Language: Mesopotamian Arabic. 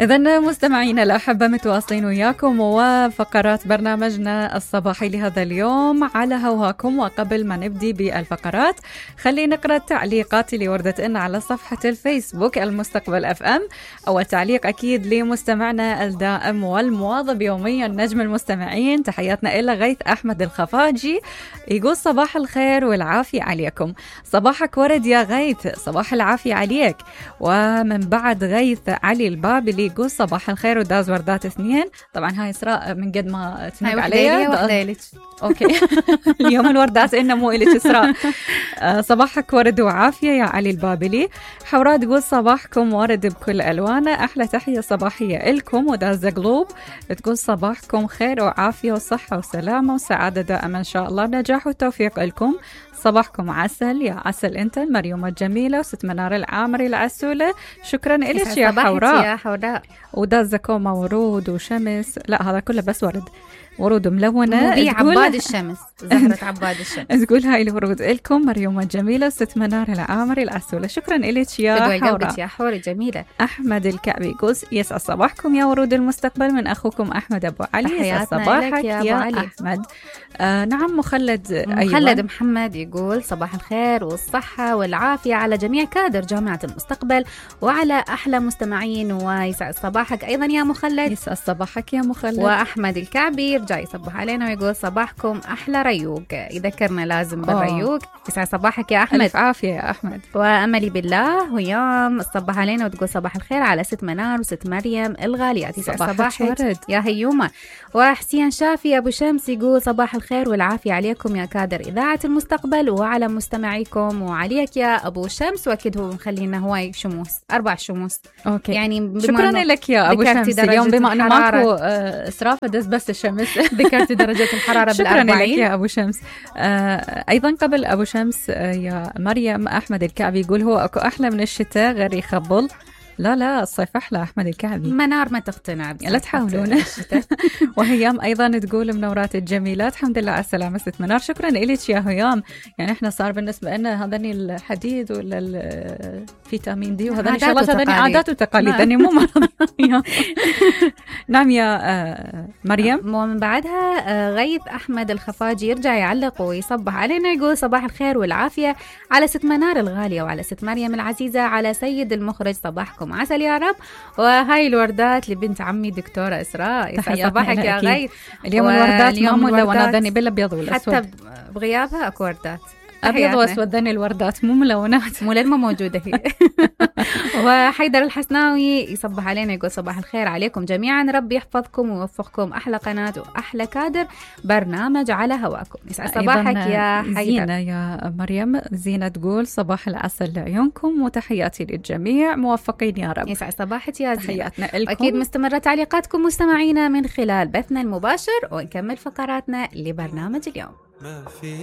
إذن مستمعينا الأحبة متواصلين وياكم وفقرات برنامجنا الصباحي لهذا اليوم على هواكم. وقبل ما نبدي بالفقرات خلينا نقرأ التعليقات اللي وردت لنا على صفحة الفيسبوك المستقبل اف ام. أول تعليق أكيد لمستمعنا الدائم والمواظب يوميا نجم المستمعين، تحياتنا إلى غيث أحمد الخفاجي، يقول صباح الخير والعافية عليكم. صباحك ورد يا غيث، صباح العافية عليك. ومن بعد غيث علي البابلي يقول صباح الخير وداز وردات 2. طبعا هاي إسراء من قد ما تنق عليها اوكي اليوم الوردات إنه مو إلك إسراء. صباحك ورد وعافية يا علي البابلي. حوراء تقول صباحكم ورد بكل ألوانه، أحلى تحية صباحية إلكم. وداز قلوب تقول صباحكم خير وعافية وصحة وسلامة وسعادة دائما إن شاء الله، نجاح وتوفيق لكم. صباحكم عسل يا عسل انت المريومة الجميلة وست منار العامري العسولة. شكرا إليك يا حوراء. يا حوراء وداز كوما ورود وشمس، لا هذا كله بس ورد، ورود ملونة. عباد الشمس، زهرة عباد الشمس. تقول هاي الورود إلكم مريومة الجميلة ست منار العامري العسولة. شكرا إليك يا حوراء. يا حوري جميلة. أحمد الكعبي يقول يسعد صباحكم يا ورود المستقبل من أخوكم أحمد أبو علي. يسعد صباحك يا أحمد. نعم مخلد محمد يقول صباح الخير والصحة والعافية على جميع كادر جامعة المستقبل وعلى أحلى مستمعين، ويسعد صباحك أيضا يا مخلد. يسعد صباحك يا مخلد. وأحمد الكعبي يرجع يصبح علينا ويقول صباحكم أحلى ريوق، يذكرنا لازم بالريوق. يسعد صباحك يا أحمد. ألف عافية يا أحمد. وأملي بالله ويام تصبح علينا وتقول صباح الخير على ست منار وست مريم الغاليات. يسعد صباحك يا هيومة. وحسين شافي أبو شمس يقول صباح الخير والعافية عليكم يا كادر إذاعة المستقبل وعلى مستمعيكم وعليك يا أبو شمس. وأكيد هو مخلينا هواي شموس، 4 شموس. أوكي. يعني شكرا لك يا أبو شمس. اليوم بما أنه ماكو إسراف دز بس الشمس ذكرت درجة الحرارة شكرا لك يا أبو شمس. أيضا قبل أبو شمس يا مريم أحمد الكعبي يقول هو أكو أحلى من الشتاء غير يخبل. لا الصيف أحلى أحمد الكعبي. منار ما تقتنع، لا تحاولون. وهيام أيضا تقول منورات الجميلات، الحمد لله على السلامة ست منار. شكرا إليك يا هيام. يعني إحنا صار بالنسبة لنا هذني الحديد ولا الفيتامين دي وهذني شغلات، هذني عادات وتقاليد، هذني مو مرض. نعم يا مريم. ومن بعدها غيث أحمد الخفاجي يرجع يعلق ويصبح علينا يقول صباح الخير والعافية على ست منار الغالية وعلى ست مريم العزيزة، على سيد المخرج صباحكم عسل يا رب. وهاي الوردات لبنت عمي دكتورة إسراء. يسعد صباحك يا غيث. اليوم الوردات ما ملونة ذني بالأبيض والأسود، حتى بغيابها أكو وردات أبيض وأسود، ذني الوردات مو ملونات، مو للما موجودة هي. وحيدر الحسناوي يصبح علينا يقول صباح الخير عليكم جميعا، رب يحفظكم ويوفقكم، أحلى قناة وأحلى كادر برنامج على هواكم. يسعد صباحك يا حيدر. زينة يا مريم. زينة تقول صباح العسل لعيونكم وتحياتي للجميع، موفقين يا رب. يسعد صباحك يا زينة. تحياتنا لكم. أكيد مستمرة تعليقاتكم مستمعينا من خلال بثنا المباشر، ونكمل فقراتنا لبرنامج اليوم.